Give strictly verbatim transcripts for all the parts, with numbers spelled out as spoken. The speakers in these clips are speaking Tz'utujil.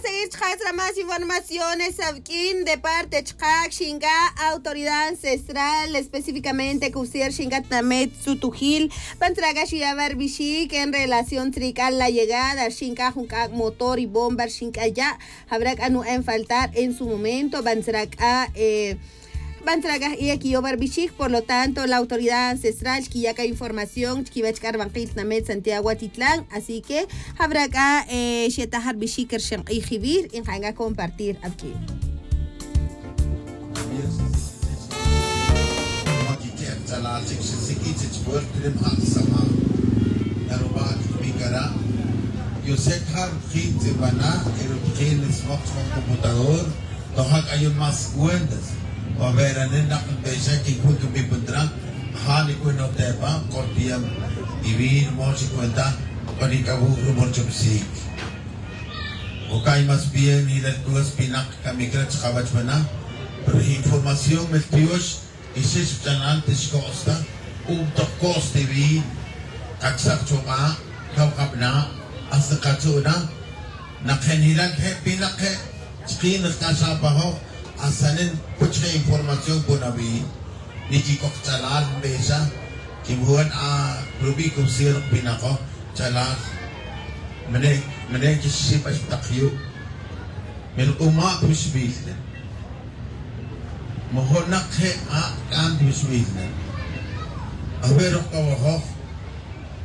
Seguir chqas ra más informaciones awq'uin de parte chqac xinc'a autoridad ancestral específicamente cubsier xinc'a tnamet tzutujil. Bantzra c'a xiya' va rbixic en relación tzric'a la llegada xinc'a jun c'a' motor y bomba xinc'a ya' jabra c'a nu'en faltar en su momento bantzra c'a bantzra c'a j'iya' quiyow va rbixic. Por lo tanto la autoridad ancestral xquiya' c'a información chquiwech c'a rbankil tnamet santiago atitlán. Así que jabra c'a xetaj rbixic rxenk'ij jibir y nka'n c'a compartir awq'uin. Yosek ja' rutjin tz'ibana' y rutjin nismok chman computador. Toja' c'a yun más cuentas. Wabe'ranen nak nbexa quic'uc nbipuntra. Ja' nic'uinoj tepa cortiam y vin mox cuenta. C'o nic'awuj rumor chumsic. Ocay más bien y la cuas pinak camic ra chkawach mana. Pero información mel tiox. Y xix ch'anan tixco'sta. Untoj co'sta vin kacsak chuk'a' cawkabna'. Hasta katzu'na. Nak je' nilal je' pinak je' chkin jk'axapajoj. Hasta nen puch je' información puna vin. Niquic'oj ch'alal nbexa. Quimuan a rubi' cubsier pinakoj ch'alal. Mene' mene' quixxibax tak yu'. Melk'uma' pixbil. Mojonak je' a' c'an pixbil. Aver ok awajoj.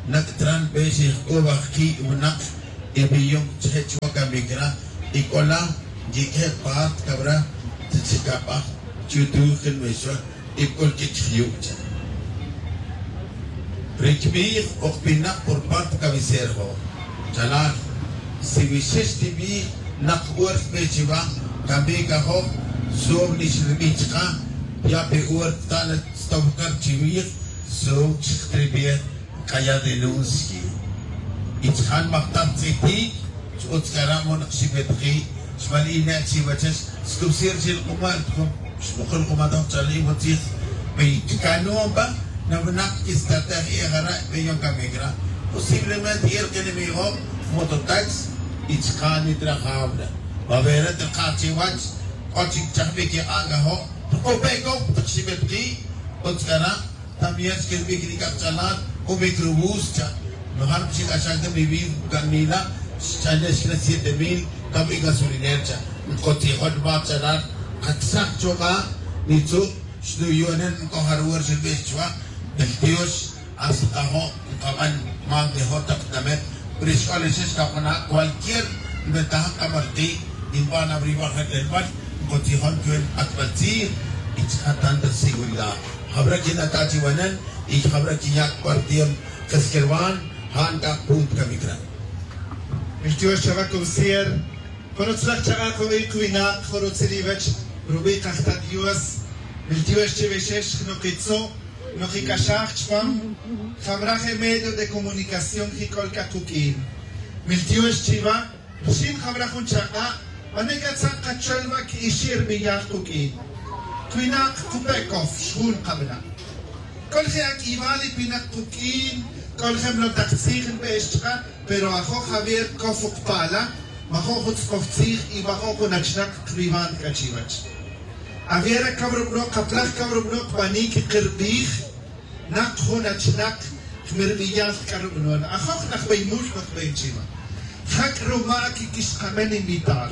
Nak tran be xijc'uba jki' winak. Y biyon chje' chwa camic ra y c'ola yique' part cabra. Chicabaj chutuj quinbexwa. Y bc'ul quich jyu' cha. Ri cbij o kpinak por parte cabecera jo'. Chalal si wixix tibij nak huerta pe chiwa. Camic ajoj. Sob nix ribij chka. Ya pe huerta ta na tstow car chiwij. Sob chik tribij. Caya denunci. Y chjan majtaj tz'itik. Ch'utz cara' monak xibetji. Xbal ine' chiwachex. Scubsir chi lk'uma' xmukul kumataj chali' motzij. Pe canuon pa na winak quistartej y jara' pe yon camic ra. Posiblemente y el quenemigo mototax. Y chka' nitrajabra. Vavera trkaj chiwach. K'o chic chajbic y k'ac ajo'. Rk'o pe cow tak xibetji. Utz cara'. También xquilbic ri c'akch'alal. C'ubic rubus cha. Nojar xic'axaj ta vivir canila. Xch'ane xc'ne siete mil. Cabi gasolinera cha. Ncotzijon va ch'alal. Kacsaj chuka' nitzu'. Xnuyonen nc'ojar wor xinbix chuwa'. El tiox. Hasta kajo' nkaban. Mantejo tak tamet. Pero xc'olixix kakuna' cualquier. Nbentaja kamarki'. Nban abrivar jetelbal. Ncotzijon chuwe nk'atbal tzij. Y chka' tanta seguridad. Jabra' quinata' chiwanen. Y jabra' quinya' cuartier keskerwan. Ja' nc'ak punto camic ra. Miltiox chava cubsier. Jun utzlaj chak'a' kubi' kuwinak jun rutzil iwech. Rubi' kajta' dios. Miltiox chiwixix jnukitzu'. Nukic'axaj chpam. Jamra' je medio de comunicación jic'ol c'a kuq'uin. Miltiox chiva. Rxin jabra' jun chak'a'. Pane' c'a tzak kachol va qui'ixir biyal kuq'uin. Cuinak kupe' cof xjun kabana'. C'ol je' ac'ibal y pinak kuq'uin. C'ol je' mlo tak tzij nbe'ex chka'. Pero ajo' javier cof ukpala'. Majo' jun tz'oj tzij y majo' jun achnak kriban c'a chiwach. Aviera cab rubno' kaplaj cab rubno' kbanic kirbij. Nak jun achnak jmirbiyal c'a rubnon ajoj najbeymul najbey chiva. Jac' ruma' quiquixkamen invitar.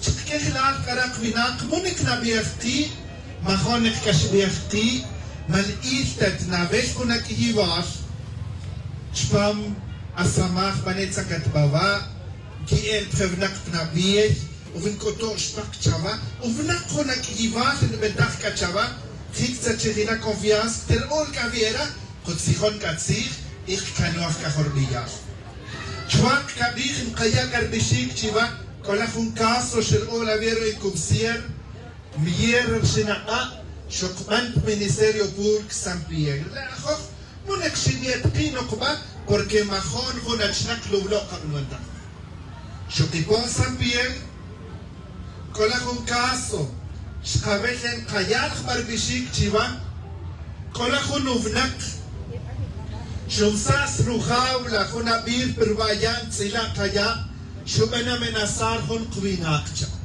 Chkejlal c'a rak winak munik nabij ki'. Majonik c'a xbij ki'. Malil ta tnabel jun ac'iyibal. Chpam asamaj pane' tzakatbaba'. Qui'el pa je winak pnabij. Uvinc'uto' xpak chava'. Uvinak jun ac'iyibal nbentaj c'a chava'. Jic tzachijila confianza tel ol c'a viera. Kutzijon c'a tzij. Y kcanoj c'a jorbiyal. Chwak c'a bij nkaya' c'a rbixic chiva'. C'ola jun caso xel ola viera y cubsier. Mier rxinak'a' xokban pa ministerio público san piel le' ajoj. Munek xiniet ki' nokba. Porque majon jun achnak lublo' kabnwantaj. Xokipon san piel. C'ola jun caso xkabel nkayal jba rbixic chiva'. C'ola jun uvnak xumsas rujaula jun abir pa ruba' ya' ntz'ila' kaya'. Xub'an amenazar jun qwinaq cha.